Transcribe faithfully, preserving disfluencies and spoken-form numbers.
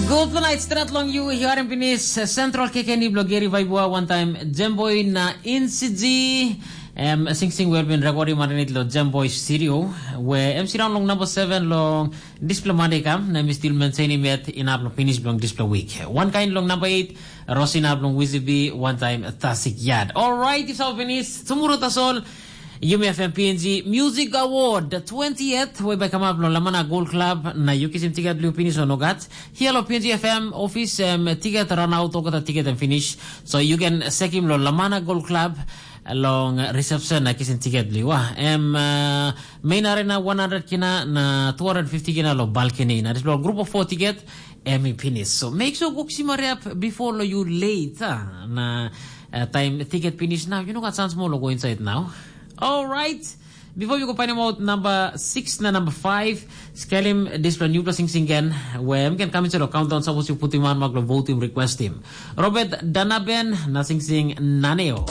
Good night, stret long you. Here in Pinis, Central K K N E blogeri Vaibua, one time Jemboy na Insiji. Em singsing wel bin rekodi marinit lo Jemboy Studio, we em siraun long number seven long dispela Monday kam, na mi still maintaining yet inap long finish bilong dispela week. One kind long number eight, Rosina bilong Wizzy B, one time Tasik Yard. All right, it's all finished. Tomorrow, that's all. Yumi F M P N G Music Award the twentieth, we by come up lo Lamana Gold Club, na you kisim ticket blue finish or no gat. Here lo P N G F M office, um, ticket run out, okata ticket and finish. So you can check him lo Lamana Gold Club long reception na kisim ticket blue. Wah, em uh, main arena one hundred kina na two hundred fifty kina lo balcony. Na this lo group of four ticket, em i finish. So make sure go kisim hurry up before lo you late. Ah. Na uh, time ticket finish now. You know got chance more lo go inside now. All right. Before we go find out number six na number five, skelim dispela new blessing singen, where we can come into the countdown. Suppose you put him on, maglo vote him, request him. Robert Danaben, na sing sing naneo.